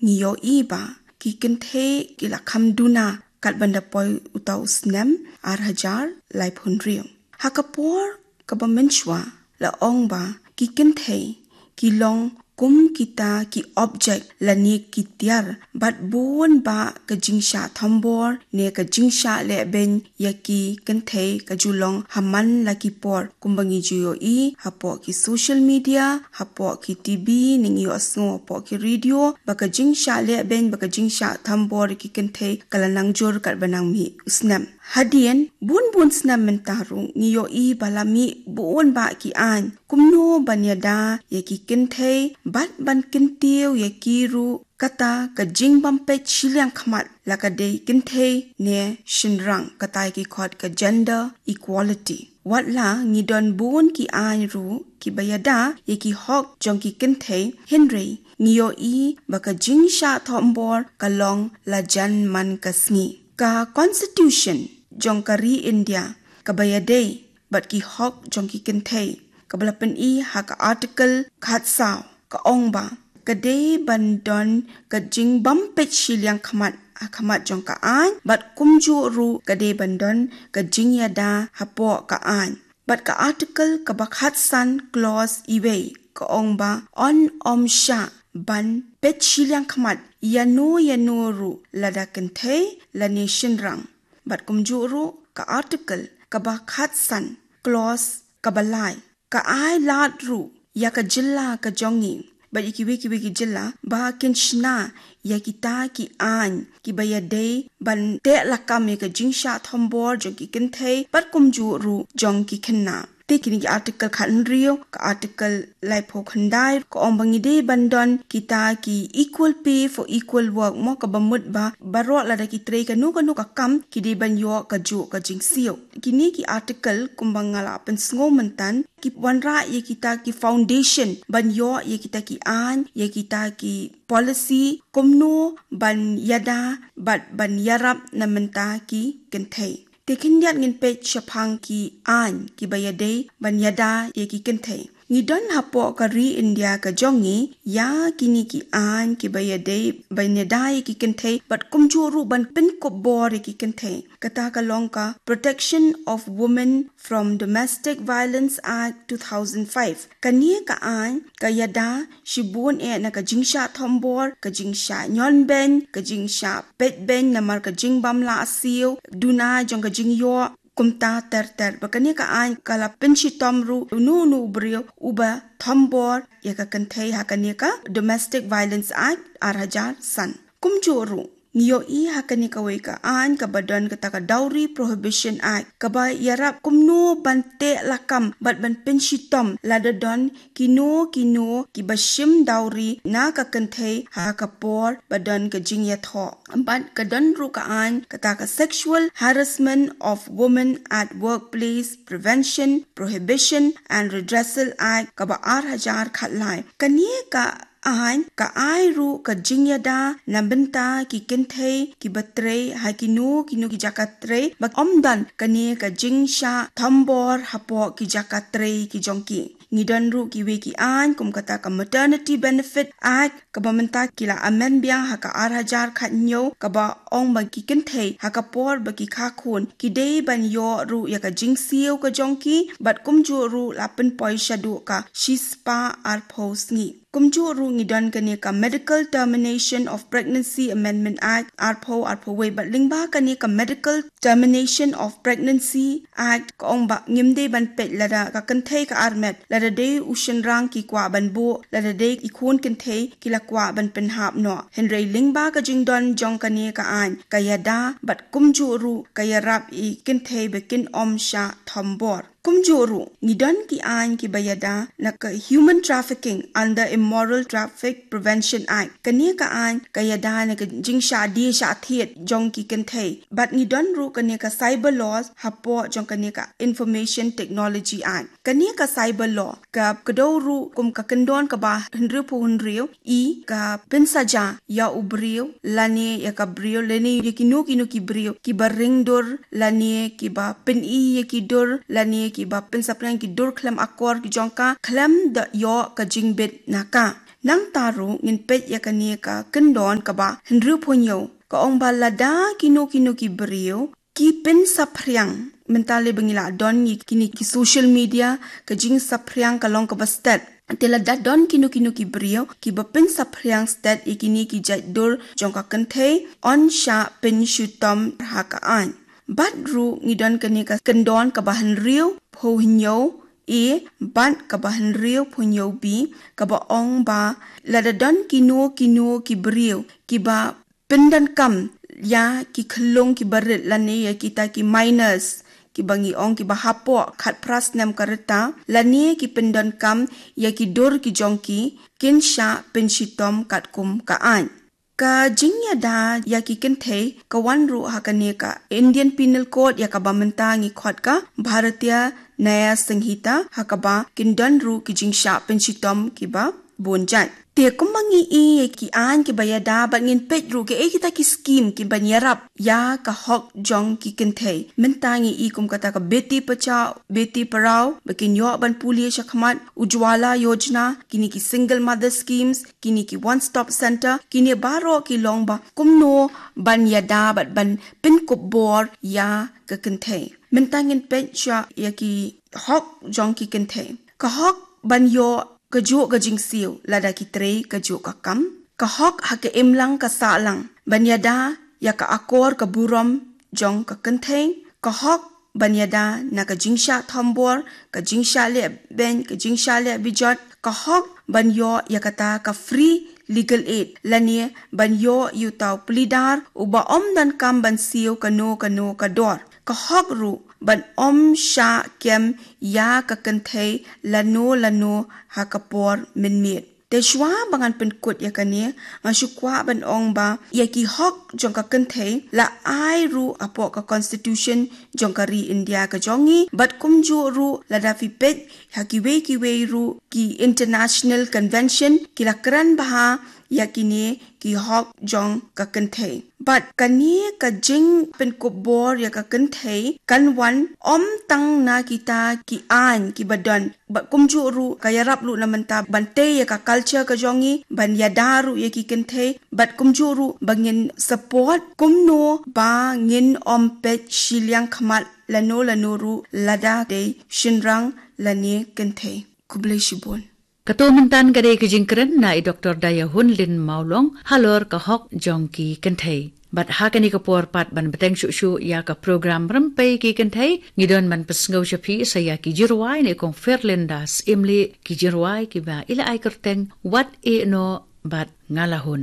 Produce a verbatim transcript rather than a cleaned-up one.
ngi ïohi ba ki kynthei ki la kham duna katba ynda poi uta u snem ar hajar laiphew hynriew. Ha ka por kaba mynshuwa la ong ba ki kynthei ki long kum kita ki object lane ki tiar, bad bun ba ka jingshah thombor ne ka jingshah lehbeiñ ïa ki kynthei ka ju long ha man la ki por, kumba ngi ju ïohi hapoh ki social media, hapoh ki T V, ne ngi ïohsngew hapoh ki radio ba ka jingshah lehbeiñ, ba ka jingshah thombor ïa ki kynthei ka la nang jur katba nang mih u snem. Hadien bun bun snem mynta ruh ngi ïohi ba la mih bun ba ki aiñ kumno ban ïada ïa ki kynthei bad ban kyntiew ïa ki ruh, kata ka jingbym peit shiliang khmat la ka dei kynthei ne shynrang, kata ki khot ka gender equality. Wat la ngi don bun ki aiñ ruh kiba ïada ïa ki hok jong ki kynthei, hynrei ngi ïohi ba ka jingshah thombor ka long la jan man ka sngi. Ka Constitution jong ka ri India kaba ïadei bad ki hok jong ki kynthei, kaba la pyni ha ka Article khatsaw, ka ong ba ka dei ban don ka jingbym peit shiliang khmat ha khmat jong ka aiñ, bad kumjuh ruh ka dei ban don ka jingïada hapoh ka aiñ. Bad ka Article kaba khatsan, clause iwei, ka ong ba yn ym shah ban peit shiliang khmat ïano ïano ruh, lada kynthei lane shynrang. Bad kumjuh ruh ka Article kaba khatsan, clause kaba lai, ka ai lad ruh ïa ka jylla ka jong ngi bad ïa kiwei kiwei ki jylla ba kin shna ïa kita ki aiñ kiba ïadei ban teh lakam ïa ka jingshah thombor jong ki kynthei bad kumjuh ruh jong ki khynnah. Te kine ki Article khathynriew, ka Article laiphew khyndai, ka ong ba ngi dei ban don kita ki equal pay for equal work, mo, kaba mut ba baroh lada ki trei kano kano ka kam ki dei ban ïoh kajuh ka jingsiew. Kine ki Article kumba nga la pynsngew mynta ki wanrah ïa kita ki foundation ban ïoh ïa kita ki aiñ, ïa kita ki policy kumno ban ïada bad ban ïarap na bynta ki kynthei. Te khyndiat ngin peit shaphang ki aiñ kiba ïadei ban ïada ïa ki kynthei. Ngi don hapoh ka ri India ka jong ngi ïa kine ki aiñ kiba ïadei ban ïada ïa ki kynthei bad kumjuh ruh ban pynkup bor ïa ki kynthei. Kata ka long ka Protection of Women from Domestic Violence Act two thousand five. Kane ka aiñ ka ïada shibun eh na ka jingshah thombor, ka jingshah ñion beiñ, ka jingshah peit beiñ namar ka jingbym lah siew duna jong ka jingïoh, kumta ter ter. Bad kane ka aiñ ka la pynshitom ruh uno uno u briew uba thombor ïa ka kynthei ha kane ka Domestic Violence Act ar hajar san. Kumjuh ruh ngi ïohi ha kane kawei ka aiñ kaba don kata ka Dowry Prohibition Act, kaba ïarap kumno ban teh lakam bad ban pynshitom lada don kino kino kiba shim dowry na ka kynthei ha ka por ba don ka jingïathoh. Bad ka don ruh ka aiñ kata ka Sexual Harassment of Women at Workplace Prevention, Prohibition and Redressal Act kaba ar hajar khatlai. Kane ka aiñ ka ai ruh ka jingïada na bynta ki kynthei kiba trei ha kino kino ki jaka trei ba ym don kane ka jingshah thombor hapoh ki jaka trei ki jong ki. Ngi don ruh kiwei ki aiñ kum kata ka Maternity Benefit Act kaba mynta ki la amend biang ha ka ar hajar khathynñiew, kaba ong ba ki kynthei ha ka por ba ki kha khun ki dei ban ïoh ruh ïa ka jingsiew ka jong ki bad kumjuh ruh la pynpoi shaduh ka shispah arphew sngi. Kumjuh ruh ngi don kane ka Medical Termination of Pregnancy Amendment Act arphew arphew wei, bad lyngba kane ka Medical Termination of Pregnancy Act ka ong ba ngim dei ban peit lada ka kynthei ka armet, lada dei u shynrang ki kwah ban buh, lada dei i khun kynthei ki la kwah ban pynhap noh. Hynrei lyngba ka jingdon jong kane ka aiñ ka ïada bad kumjuh ruh ka ïarap ïa ki kynthei ba kin ym shah thombor. Kumjuh ruh ngi don ki aiñ kiba ïada na ka Human Trafficking under Immoral Traffic Prevention Act. Kane ka aiñ ka ïada na ka jingshah die shah thied jong ki kynthei. Bad ngi don ruh kane ka cyber laws hapoh jong kane ka Information Technology Act. Kane ka cyber law ka kdew ruh kum ka kyndon kaba hynriewphew hynriew, i ka pynsaja ïa u briew lane ïa ka briew lane ïa kino kino ki briew kiba ring dur lane kiba pyni ïa ki dur lane kiba pynsaphriang ki dur khlem akor ki jong ka khlem da ïoh ka jingbit na ka. Nangta ruh ngin peit ïa kane ka kyndon kaba hynriewphew hynñiew, ka ong ba lada kino kino ki briew ki pynsaphriang, mynta lei ba ngi la don ïa kine ki social media, ka jingsaphriang ka long kaba stet. Te lada don kino kino ki briew kiba pynsaphriang stet ïa kine ki jait dur jong ka kynthei, yn shah pynshitom ha ka aiñ. Bad ruh ngi don kane ka kyndon kaba hynriewphew hynñiew A bad kaba hynriewphew hynñiew B, kaba ong ba lada don kino kino ki briew kiba pyndonkam ïa ki khyllung kiba rit lane ïa kita ki minors, kiba ngi ong kiba hapoh khatphra snem ka rta, lane ki pyndonkam ïa ki dur ki jong ki, kin shah pynshitom katkum ka aiñ. Ka jingïada ïa ki kynthei ka wan ruh ha kane ka Indian Penal Code, ïa kaba mynta ngi khot ka Bharatiya Nyaya Sanhita, ha kaba kin don ruh ki jingshah pynshitom kiba bun jait. Te kumba ngi i ïa ki aiñ kiba ïada, bad ngin peit ruh kaei kita ki skim kiban ïarap ïa ka hok jong ki kynthei. Mynta ngi i kum kata ka Beti Bachao, Beti Padhao, ba kin ïoh ban pule shakhmat, Ujjwala Yojana, kine ki single mother schemes, kine ki one stop center, kine baroh ki long ba kumno ban ïada bad ban pynkup bor ïa ka kynthei. Mynta ngin peit shwa ïa ki hok jong ki kynthei. Ka hok ban ïoh kajuh ka jingsiew lada ki trei kajuh ka kam. Ka hok ha ka imlang ka sahlang ban ïada ïa ka akor ka burom jong ka kynthei. Ka hok ban ïada na ka jingshah thombor, ka jingshah leh beiñ, ka jingshah leh bijot. Ka hok ban ïoh ïa kata ka free legal aid, lane ban ïoh ïa uta u plie dar uba ym donkam ban siew kano kano ka dor. Ka hok ruh ban ym shah kem ïa ka kynthei lano lano ha ka por mynmiet. Te shwa ba ngan pynkut ïa kane, nga shu kwah ban ong ba ïa ki hok jong ka kynthei la ai ruh hapoh ka constitution jong ka ri India ka jong ngi, bad kumjuh ruh lada phi peit ha kiwei kiwei ruh ki international convention, ki la kren bha ïa kine ki hok jong ka kynthei. Bad kane ka jingpynkup bor ïa ka kynthei kan wan ym tang na kita ki aiñ kiba don, bad kumjuh ruh ka ïarap ruh na mynta ban tei ïa ka culture ka jong ngi, ban ïada ruh ïa ki kynthei, bad kumjuh ruh ba ngin support kumno ba ngin ym peit shiliang khmat lano lano ruh lada dei shynrang lane kynthei. Khublei shibun. Kato mynta ka dei ka jingkren na i Doktor Dayahunlin Mawlong halor ka hok jong ki kynthei. Bad ha kane ka por pat ban bteng shuh shuh ïa ka program Rympei ki Kynthei, ngi don ban pynsngew sha phi sa ïa ki jingrwai na i Kong Ferlinda Syiemlieh, ki jingrwai kiba i la ai kyrteng Wat Ïehnoh bad Nga La Hun.